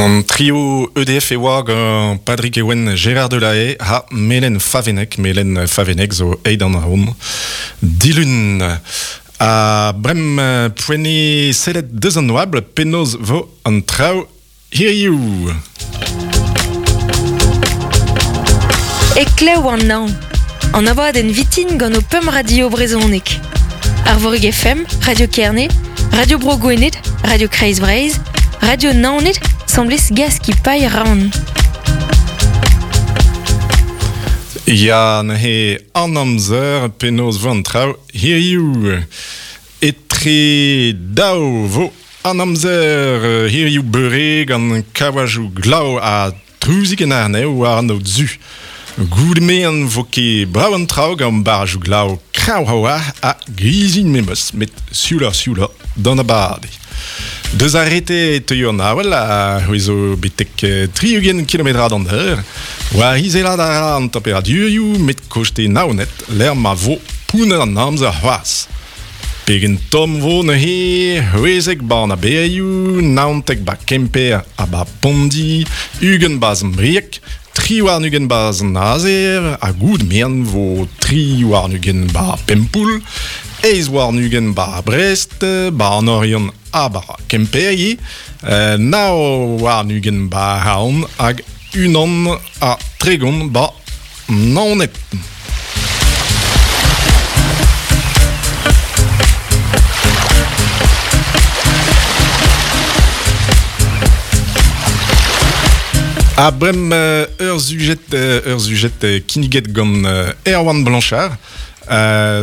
An trio EDF e oa gant Padrig Ewen, Gérard Delahaye ha Melen Favennec. Melen Favennec zo aet an hon dilun. Ha brem poent sellet deus an oabl penaos vo an traoù hiziv. Heklev an hañv. An abadenn vitin gant ho pemp radio brezhonek. Arvorig FM, Radio Kerne, Radio Bro Gwened, Radio Kreiz Breizh, Radio Naoned, 'semblez Gaskipailh Raon. Ya, neuze an amzer penaos vo an traoù hiziv. Etre daou vo an amzer hiziv beure gant kavajoù glav ha Truzik en arnev war an aod zu. Goude me'an vo ket brav an traoù gant barrajoù glav kreñv a-walc'h ha grizilh memes, met siouloc'h-sioulañ d'an abade. Deus ar rete e teuio an avel a c'hwezo betek 60 kilometrad an eur. War izelat a ra an temperadurioù met koste Naoned lec'h ma vo pounner an amzer c'hoazh. Pegen tomm 'vo neuze, c'hwezek 'ba an aberioù, 19 'ba Kemper ha 'ba Pondi, 20 'ba Sant-Brieg, 23 'ba Sant-Nazer, ha goud merenn 'vo 23 'ba Pempoull, 28 'ba Brest, 'ba an Oriant ha 'ba Kemper ivez, 29 'ba Raon hag 31 'ba Naoned. Ha brem ur sujet ur sujet kinniget gant Erwan Blanchard.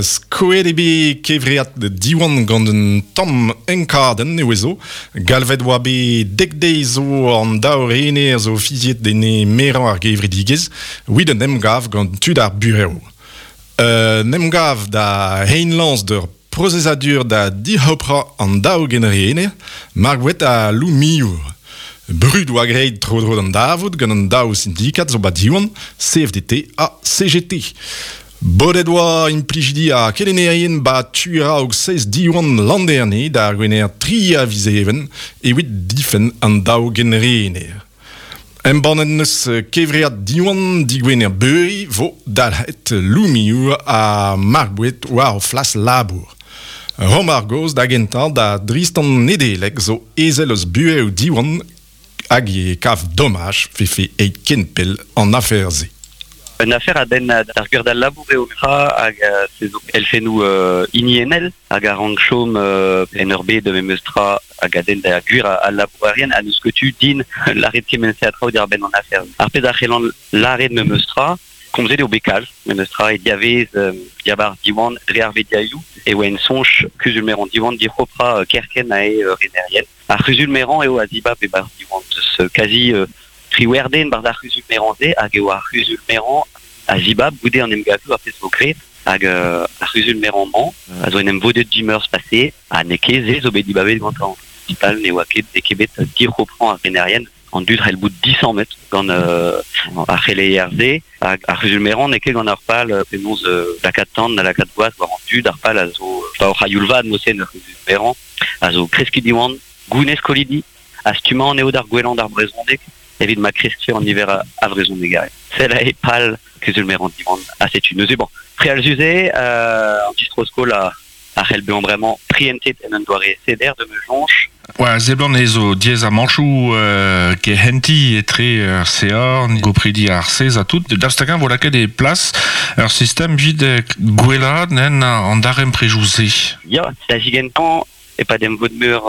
Skoet eo bet kevread Diwan gant un tamm enkadenn eo zo. Galvet oa bet dek deiz zo an daou rener zo fiziet ene merañ ar gevredigezh evit un emgav gant tud ar burev. Un emgav da reiñ lañs d'ur prosezadur da dic'hoprañ an daou genrener, Margouet ha Lou Millour. Brud oa graet tro-dro d'an darvoud gant an daou sindikad zo ba Diwan, CFDT ha CGT. Bodet oa implijidi ha kelennerien 'ba tu a-raok seiz Diwan Landerne d'ar Gwener 3 a viz Even evit difenn an daou genrener. Embannet 'neus kevread Diwan digwener beure 'vo dalc'het Loumioù ha Marc'h-Boued war o flas labour. Rom ar gaoz da gentañ da Dristan Nedeleg zo ezel eus burev Diwan hag e kav domaj 'vefe aet ken pell an afer-se. Un afer a denn d'ar gwir d'al labour eo tra hag se zo elfennoù hiniennel hag a rank chom en ur bed memes tra hag a denn da gwir al labourerien ha n'eus ket tu din lâret kement-se a traoù diwar-benn an afer. Ar pezh a c'hellan lâret memes tra, komzet eo bet kalz memes tra e diavez diabarzh Diwan dre ar vediaioù e oa en soñj kuzul-merañ Diwan dic'hoprañ kerkent ae renerien. Ar c'huzul-merañ eo a zibab e-barzh Diwan. Deus kazi triwec'h den 'barzh ar c'huzul-merañ-se hag eo ar c'huzul-merañ a zibab goude an emgavioù ar pezh 'vo graet. Hag ar c'huzul-merañ-mañ a zo en em vodet dimeurzh paseet ha n'eo ket se zo bet dibabet gantañ. Pal ne oa ket n'eo ket bet dic'hoprañ ar renerien. An dud c'hell bout disammet gant ar c'heleier-se hag ar c'huzul-merañ n'eo ket gant ar pal penaos lakaat tan na lakaat gwaz war an dud. Ar pal a zo pa oc'h a-youl vat mod-se ur c'huzul-merañ a zo kreskiñ Diwan, gounez skolidi ha stummañ anezho d'ar gwellañ d'ar brezhoneg evit ma kreskfe an niver a vrezhonegerien. Sell aze pal kuzul-merañ Diwan ha setu neuze bon frealzus eo an distro-skol a a c'hell bezañ bremañ prientet en un doare seder de ma soñj. Oa seblant ez zo diaezamanchoù kehentiñ etre ar CA, gopridi ar sez ha tout. Daoust hag-eñ vo lakaet e plas ur sistem evit gwellaat nen an darempredoù-se? Ya, da zigentañ, e-pad emvod-meur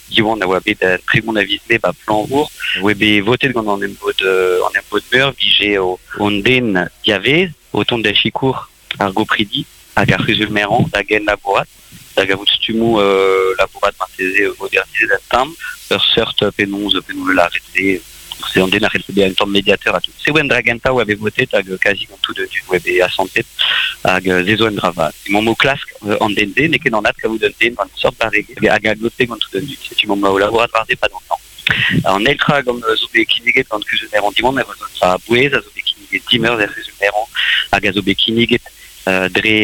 Diwan a oa bet 30 a viz Mae 'ba Plañvour, oa bet votet gant an emvod an emvod-meur 'vije hon den diavaez o tont da sikour ar gopridi hag ar c'huzul-merañ da genlabourat, da gavout stummoù labourat marteze modernizet un tamm, ur seurt penaos penaos lâret se, se an den a c'hellfe bezañ un tamm mediateur ha tout. Se oa un dra gentañ oa bet votet hag kazi gant tout an dud oa bet asantet hag se zo un dra vat. Emaomp o klask an den-se, n'eo ket anat kavout un den gant seurt barregezh hag a glotfe gant tout an dud. Setu emaomp o labourat war se 'pad an tamm. An eil tra gant zo bet kinniget gant kuzul-merañ Diwan, a zo un dra a-bouez, a zo bet kinniget dimeurzh er c'huzul-merañ hag a zo bet kinniget dre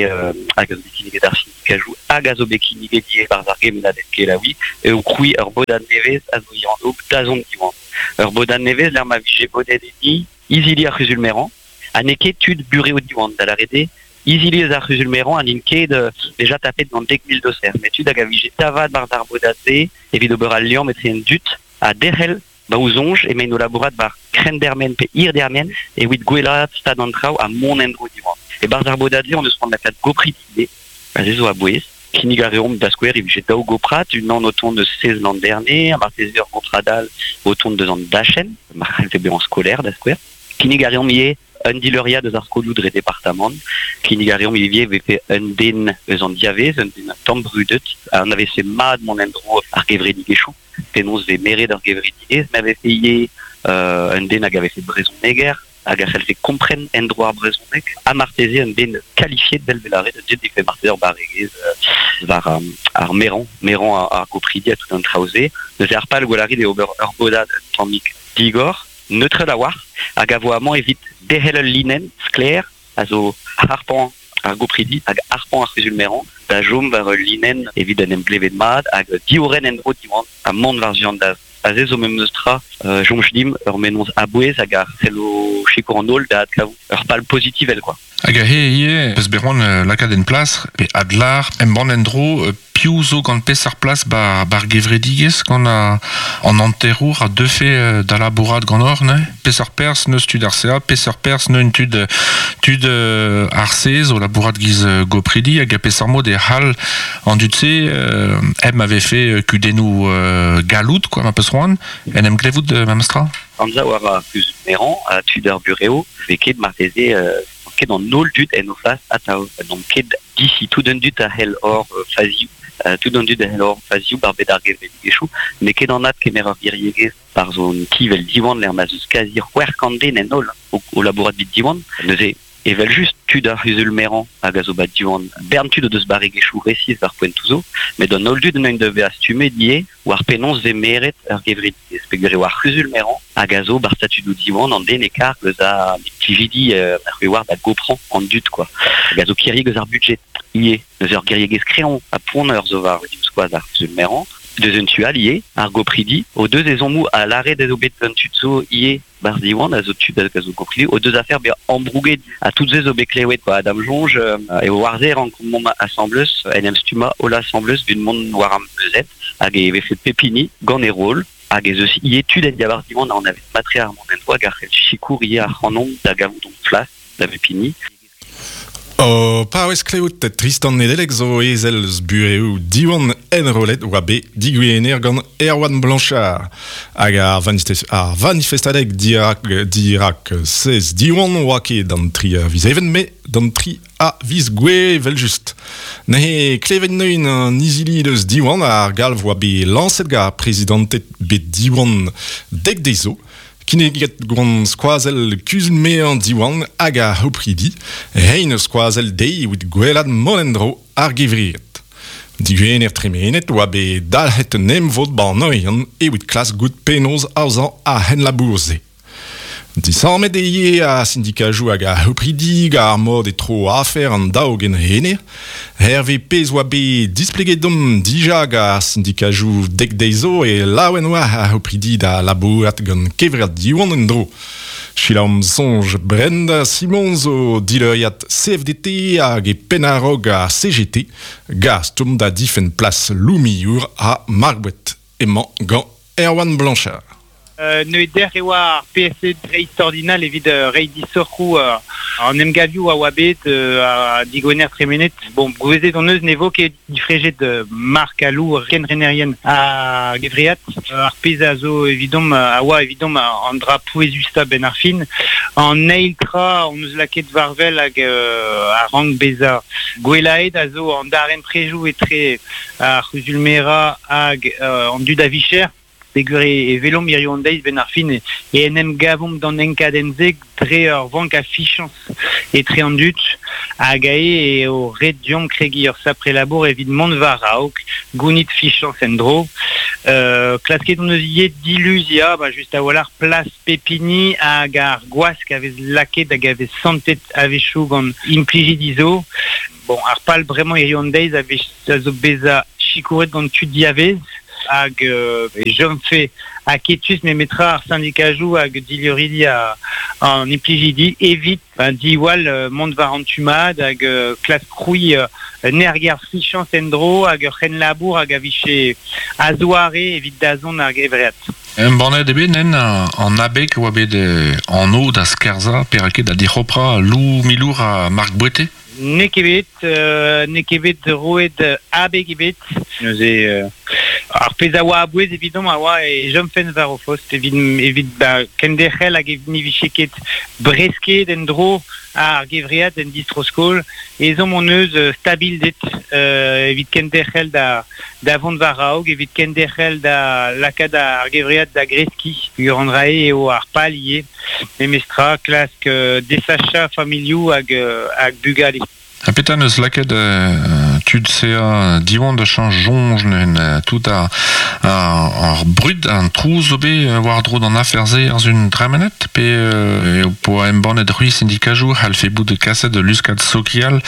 hag a zo bet kinniget ar sindikajoù hag a zo bet kinniget ivez barzh ar gemennadenn kelaouiñ eo krouiñ ur bodad nevez a zo e anv Dazont Diwan. Ur bodad nevez lec'h ma vije bodet enni izili ar c'huzul-merañ ha n'eo ket tud burev Diwan, da lâret eo izili eus ar c'huzul-merañ ha n'int ket deja tapet gant 10,000 doser, met tud hag a vije tavat barzh ar bodad-se evit ober al liamm etre an dud ha derc'hel ba o soñj emaint o labourat war krenn-dermen pe hir-dermen evit gwellaat stad an traoù ha mont en-dro Diwan. E-barzh ar bodad-se hon eus c'hoant lakaat gopridi ivez, ha se zo a-bouez. Kinnig a reomp da skouer e vije daou goprad, unan o tont eus sez Landerne, ha marteze ur goprad all o tont deus an dachenn, ma c'hallfe bezañ skolaer da skouer. Kinnig a reomp ivez un dileuriad eus ar skolioù dre departamant. Kinnig a reomp ivez e vefe un den eus an diavez, un den tamm brudet, a anavezfe mat mont en-dro ar gevredigezhioù, penaos vez meret ar gevredigezh, ma vefe ivez un den hag a vefe brezhoneger, hag a c'hellfe kompren endro ar brezhoneg, ha marteze un den kalifiet vel vel lâret, un den defe marteze ur barregezh war ar merañ, merañ ar gopridi ha tout an traoù-se. Neuze ar pal gwell eo ober ur bodad un tammig digor, neutrel a-walc'h, hag a vo amañ evit derc'hel ul linenn sklaer a zo harpañ ar gopridi hag harpañ ar c'huzul-merañ da chom war ul linenn evit en em glevet mat hag diorren endro Diwan ha mont war-zu an dazont. Aze zo memes tra, soñj dimp ur mennozh a-bouez hag a c'hello sikour an holl da adkavout ur pal pozitivel quoi. Hag aze ivez, peus bet c'hoant lakaat en plas pe adlâr embann en-dro piv zo gant peseurt plas ba'r gevredigezh gant an hanterour a deufe da labourat ganeoc'h neuze? Peseurt perzh n'eus tud ar CA, peseurt perzh neun tud tud ar C zo labourat giz gopridi hag peseurt mod e c'hall an dud-se hep ma vefe kudennoù galloud quoi ma peus c'hoant en em glevout memestra? Anzav a ra ar c'huzul-merañ ha tud ar burev vez ket marteze ket an holl dud en o flas atav. N'omp ket disi tout an dud a c'hell hor fazioù, tout an dud a c'hell hor fazioù bar bed ar gevredigezhioù. N'eo ket anat kemer ur giriegezh barzh hon ti 'vel Diwan lec'h ma 'z eus kazi 600 den en holl o labourat evit Diwan. Neuze evel-just tud ar c'huzul-merañ hag a zo ba Diwan, bern tud o deus barregezhioù resis war poentoù zo, met an holl dud en deus bezañ stummet ivez war penaos vez meret ur gevredigezh peogwir eo ar c'huzul-merañ hag a zo bar statudoù Diwan an den e karg eus ar plijidi ar war da goprañ an dud quoi hag a zo kiriek eus ar budjed ivez. Neuze ur giriegezh kreñv ha poan zo war divskoaz ar c'huzul-merañ. Deus un tu all ivez, ar gopridi o deus ezhommoù ha lâret ez eo bet gant tud zo ivez barzh Diwan a zo tud hag a zo gopridi o deus afer bezañ ambrouget ha tout se zo bet klevet quoi. Da'm soñj eo war-se rankomp asambles en em stummañ holl asambles evit mont war ar meuzet hag e vefe pep hini gant e roll hag ez eus ivez tud en diabarzh Diwan a anavez mat-tre ar mont en-dro hag a c'hell sikour ivez ac'hanomp da gavout hon flas da bep hini. O paouez klevout Tristan Nedeleg zo ezel eus burev Diwan enrollet oa bet digwener gant Erwan Blanchard. Hag ar, ar vanifestadeg dirak, dirak sez Diwan oa ket d'an tri a viz Even, met d'an tri a viz Gouere evel-just. Neuze klevet neun an izili deus Diwan ar galv oa bet lañset gant ar prezidanted bet Diwan dek deiz zo. Kinniget gant skoazell kuzul-merañ Diwan hag ar c'hopridi, reiñ ur skoazell dezhi evit gwellaat mont en-dro ar gevread. Digwener tremenet oa bet dalc'het un emvod 'ba an Oriant evit klask goût penaos aozañ ar c'henlabour-se. Disammet eo ivez ar sindikajoù hag ar c'hopridi gant ar mod e tro afer an daou genrener. Hervez pezh oa bet displeget deomp dija gant ar sindikajoù dek deiz zo e laouen oa ar c'hopridi da labourat gant kevread Diwan en-dro. Selaomp soñj Brenda Simon zo dileuriad CFDT hag e penn a-raok ar CGT, gast omp da difenn plas Loumiour ha Margouet. Emañ gant Erwan Blanchard. Neuze dec'h e oa ar PSE dreistordinal evit reiñ disoc'hoù an emgavioù a oa bet ha digwener tremenet. Bon, gouezet hon eus ne vo ket difrejet Marc Alou kenrenerien ar gevread. Ar pezh a zo evidomp a oa evidomp an dra pouezustañ benn ar fin. An eil tra hon eus lakaet war-wel hag a rank bezañ gwellaet a zo an darempredoù etre ar c'huzul-merañ hag an dud a vicher. Peogwir e welomp hiziv an deiz benn ar fin e en em gavomp d'an enkadenn-se dre ur vank a fichañs etre an dud hag aze eo ret deomp kregiñ ur sapre labour evit mont war-raok, gounit fichañs en-dro. Klasket hon eus ivez diluziañ ba just a-walc'h plas pep hini hag ar gwask a vez lakaet hag a vez santet a-wechoù gant implijidi zo. Bon, ar pal bremañ hiziv an deiz a vez a zo bezañ sikouret gant tud diavaez. hag jom fe aketus memetra ar syndikajou hag dileuridi an implijidi evit ben, diwall mont war an tumad hag klas kroui nerger fichans endro hag ur c'hen labour hag a viche azoare evit dazon ar gevreat. Un bannet ebe nen an abeg oa bet an o da skerza perake da dic'hopra Lou Milour a Marc Bouete? Ne ket bet roet abeg ebet. Neuze ar pezh a oa abouez evidom a oa e jom fen war o fost evit ba, kenderc'hel hag evit ni viche ket bresket en dro ar gevreat en distroskol ezom on eus stabildet evit kenderc'hel da vont war raog, evit kenderc'hel da lakaat ar gevreat da greski. Ur an rae eo ar pal ivez, memestra klask desacha familioù hag bugale. Ha petra neus lakaet tud sea Diwan da chañj soñj neuzen tout ar brud an trouz zo bet war dro d'an afer-se ar zun dremenet pe eo poa embannet c'hwi syndikajou c'hallfe bout kaset de luskad sokial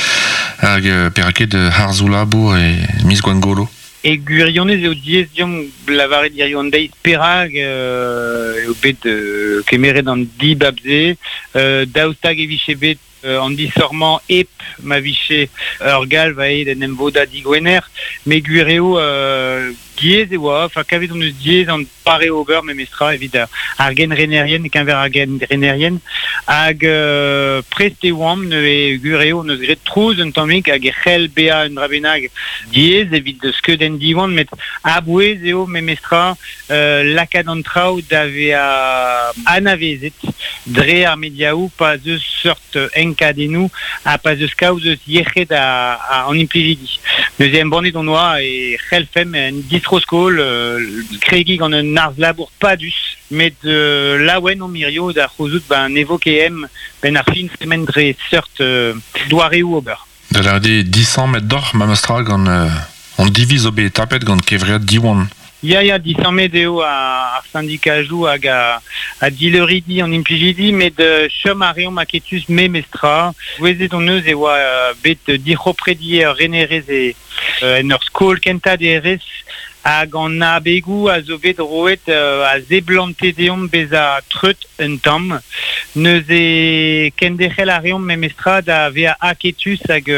hag peraket harzoù labour e miz Gwengolo. E gwirionez eo diaes deomp lavaret hiziv an deiz perak eo bet kemeret an dibab-se, daoust hag e vije bet an disormañ ep ma viche ur galv aet en emvoda digwener, met gwir eo diaes e oa, enfin kavet on eus diaes an pare ober memestra evit ar genrenerien, keñver ar genrenerien, hag prest e oamp neuze gwir eo on eus graet trouz un tammig hag e c'hell bezañ un dra bennak diaes evit skeudenn Diwan, met a-bouez eo memestra lakaat an traoù da vezañ anavezet dre ar mediaoù pa 'z eus seurt enkadennoù ha pa 'z eus kaoz eus yec'hed an implijidi. Neuze embannet on oa e c'hellfemp en distroskol kregiñ gant un arz labour padus, met laouen omp hirio da c'houzout ba ne vo ket em benn ar fin tremen dre seurt doareoù ober. Da lâret eo disammet doc'h memestra gant an diviz zo bet tapet gant kevread Diwan. Ya, disammet eo ar syndikajoù hag a dileuridi an implijidi, met chom a reomp aketus memestra. Gouezet hon eus e oa bet dic'hopredi ur renerez e en ur skol kentañ derez hag an abegoù a zo bet roet a seblante deomp bezañ treut un tamm. Neuze kenderc'hel a reomp memestra da vezañ aketus hag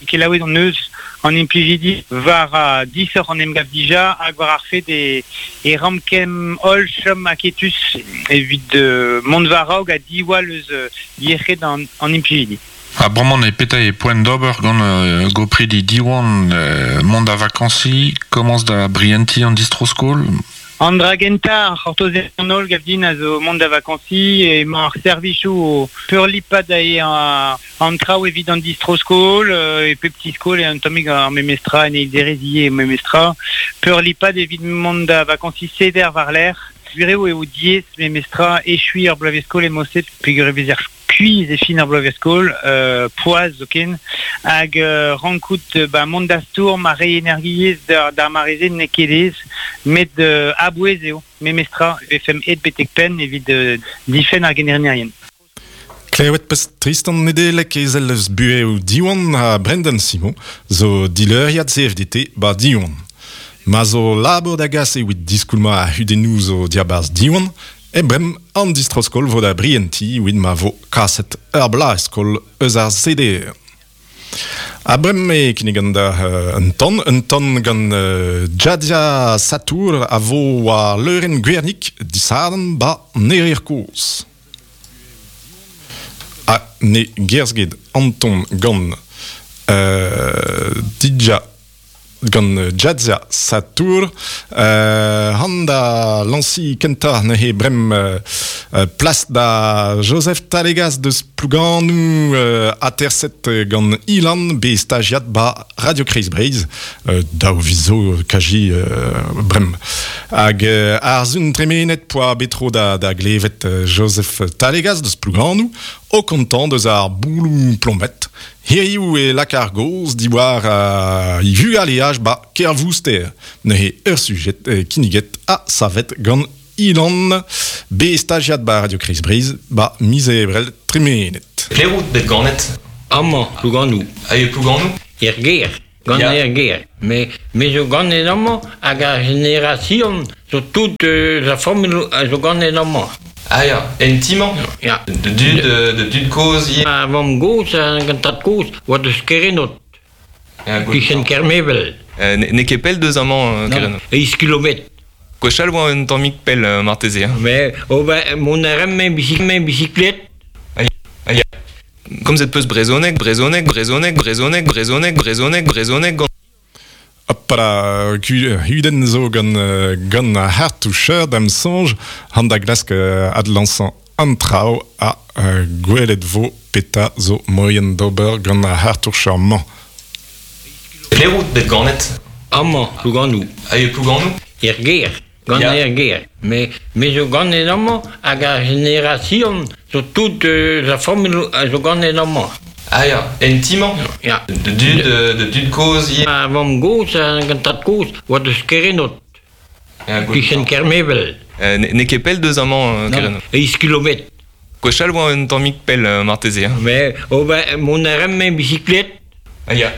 kelaouet hon eus an implijidi war disoc'h an emgav dija hag war ar fed e ramp kem holl chom aketus evit mont war raok ha diwall eus yec'hed an implijidi. Ha bremañ e petra e poent d'ober gant gopridi Diwan mont da vakansiñ, komañs da brientiñ an distro-skol? An dra gentañ ar c'hortoz an holl gav din a zo mont da vakansiñ emañ ar servijoù o peurlipat ae an traoù evit an distro-skol e pep ti-skol e un tammig ar memestra en eil derez ivez memestra peurlipat evit mont da vakansiñ seder war-lerc'h. Gwir eo diaes memestra echuiñ ar bloavezh-skol e Moset peogwir e vezer skuizh e fin ar bloavezh-skol, poazh zoken, hag rankout ba mont da stourm ha reiñ energiezh d'ar mare-se n'eo ket aes, met a-bouez eo memestra e vefemp aet betek penn evit difenn ar genrenerien. Klevet peus Tristan Nedeleg ezel eus burev Diwan ha Brendan Simon zo dileuriad CFDT ba Diwan. Ma zo labour da gas evit diskoulmañ ar c'hudennoù zo diabarzh Diwan, e brem an distroskol vo da brientiñ evit ma vo kaset ur bloaz-skol eus ar CDE. Ha brem e kinnigan da un tan gant Djadja Satour a vo war leurenn Gwernig disadorn ba Nerir Kozh. Ha ne gerzh ket an ton gant Didja gant Djadja Satour han da lañsiñ kentañ neuze brem plas da Joseph Talegas deus Plouganou aterset gant Ilan bet stajiad ba Radio Kreiz Breizh daou viz zo kaji brem. Hag ar sun tremenet poa bet tro da glevet Joseph Talegas deus Plouganou o kontañ deus ar bouloù plombet. Hiziv e laka ar gaoz diwar e vugaleaj ba Kervouster. Neuze ur sujet kinniget ha savet gant Ilan, bet stajiad ba Radio Kreiz Breizh ba miz Ebrel tremenet. Pelec'h out bet ganet? Amañ, Plouganou. Ha e Plouganou? Er gêr. Gant er ger. Me, me zo ganet amañ hag ar generasion zo tout la familh a zo ganet amañ. Ah ya, en ti-mañ? Ya. De dud, de dud kozh ivez? Ma vamm-gozh hag an tad-kozh oa deus Kerenod. Kichen Kermevel. N'eo ket pell deus amañ, Kerenod? Eizh kilometr. Gwechall oa un tammig pell marteze. Hein. Mais oh ben, mont a ran me bicyclette. Ah ya. Komzet peus brezhoneg, brezhoneg, brezhoneg, brezhoneg, brezhoneg, brezhoneg, brezhoneg gant... Hopala, hudenn zo gant, gant ar c'hartoucher da'm soñj, han da glask adlañsañ an traoù ha gwelet vo petra zo moien d'ober gant ar c'hartoucher-mañ. Pelec'h out bet ganet? Amañ, Plouganou. Ah, e Plouganou? Er gêr, gant er gêr. Me, me zo ganet amañ hag ar generasion zo tout la familh a zo ganet amañ. Ah ya, en ti-mañ? Ya. De dud, de dud kozh ivez? Ma vamm-gozh hag an tad-kozh oa deus Kerenod. Kichen Kermevel. N'eo ket pell deus amañ, Kerenod? Eizh kilometr. Gwechall oa un tammig pell marteze. Hein. Mais oh ben, mont a ran me bicyclette. Ah ya.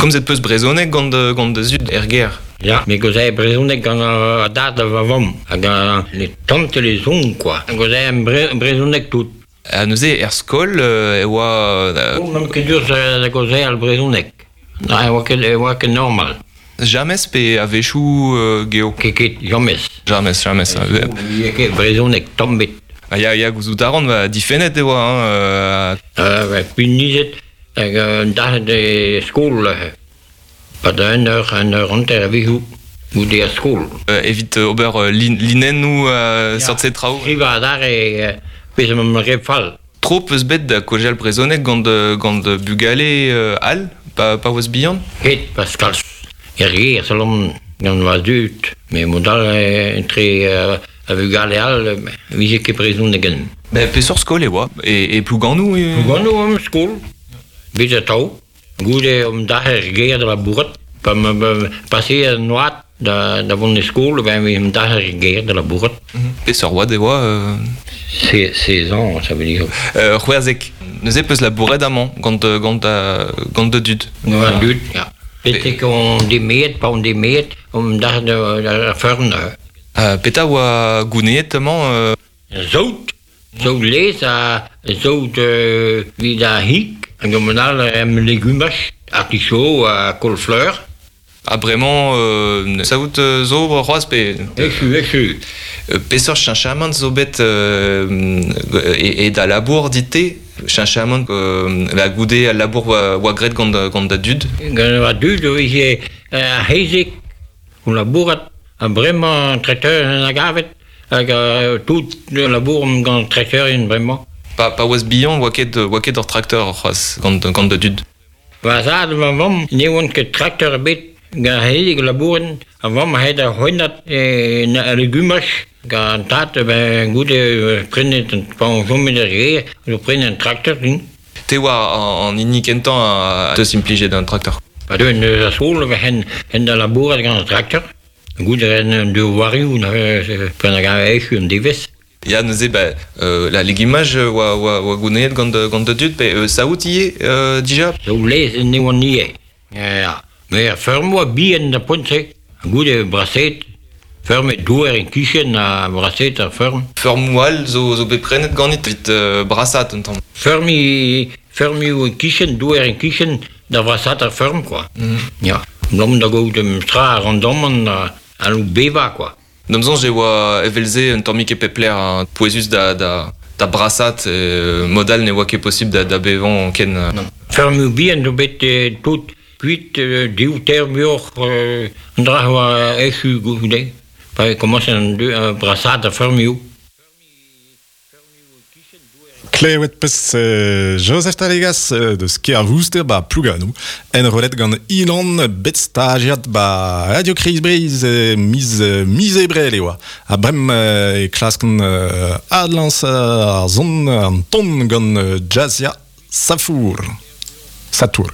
Komzet peus brezhoneg gant, gant da zud er gêr? Ya, me gozai brezhoneg gant a dad ha va vamm. Hag les tantes les oncles, quoi. Gozai brezhoneg tout. Ha neuze er skol e oa... Oh, n'am ket dur da gaozeal brezhoneg. Na, e oa ket, e oa ket normal. James pe a-wechoù geo? Ket ket, james. James, james. E ket brezhoneg tamm bet. Ah, ya, ya, gouzout a ran, ba, difennet e oa. Hein, Punizet hag un dac'het e skol neuze. Pad un eur, un eur hanter a-wechoù goude ar skol. Evit ober lin, linennoù seurt-se traoù. Skrivañ adarre pezh am re fall. Tro peus bet da kaozeal brezhoneg gant, gant bugale all pa, pa oas bihan? Ket, Pascal. Er gêr, selon gant va zud. Me mod all entre a vugale all vije ket brezhoneg en. Ben, peseurt skol e oa? E, e Plouganou? E... Plouganou am skol. Bet atav. Goude omp dac'h er gêr da labourat. Pa ma pase an oad da, da vont e skol, ben omp dac'h er gêr da labourat. Peseurt oad e oa 16 ans, ça veut dire. C'hwezek. Neuze peus labouret amañ gant, gant, gant da dud. Gant dud, ya. Betek on demeet, pa on demeet, omp dac'h da, da feurm neuze. Petra oa gouneet amañ Saout, saout laezh ha saout evit ar c'hig, hag an all em legumaj, artichaut ha kaol-fleur. Ha bremañ saout zo c'hoazh pe... Echu, echu. Peseurt cheñchamant zo bet e, e da labour dit-te? Cheñchamant la goude al labour oa graet gant, gant da dud? Gant va dud e vije ar c'hezeg o labourat. Ha bremañ an trakteur en a gavet hag tout labouromp gant trakteurien bremañ. Pa, pa oas bihan, oa ket, oa ket ur trakteur c'hoazh gant, gant da dud. Va zad va vamm ne oant ket trakteur ebet gant ar labouren. A vamm a da c'hwennat e legumaj. Gant tad, ben, goude prenet, pa on chomet er gêr, zo prenet un trakteur din. Te oa an hini kentañ a teus implijet un trakteur. Pa deuen eus a skol, hen, hen da labourat gant an trakteur. Goude ren un devoarioù neuze p'en a gav echu an devezh. Ya, neuze, ba, la legumaj oa, oa, oa gouneet gant, gant da dud, pe saout ivez dija? Saout laezh ne oan ivez. Ya, met ar feurm oa bihan da poent-se. Goude braset, feurmet douar en kichen ha braset ar feurm. Feurmoù all zo, zo bet prenet ganit evit brasaat un tamm. Feurmiñ, feurmioù en kichen, douar en kichen da vrasaat ar feurm, quoi. Ya. Abalamour da gaout un tra randamant a bevañ, quoi. D'am soñj e oa evel-se un tammig e pep lec'h hein, pouezus da, da, da brasaat mod all ne oa ket posibl da, da bevañ ken. Feurmoù bihan zo bet tout kuit div teir muioc'h an dra a oa echu goude. Pa e komañse an brasaat ar feurmioù. Klevet peus Joseph Talegas deus Kervouster ba Plouganou, enrollet gant Ilan bet stajiad ba Radio Kreiz Breizh miz, miz ebrel e oa. Ha brem e klaskan adlañs ar son an ton gant Jazia Safour. Satour.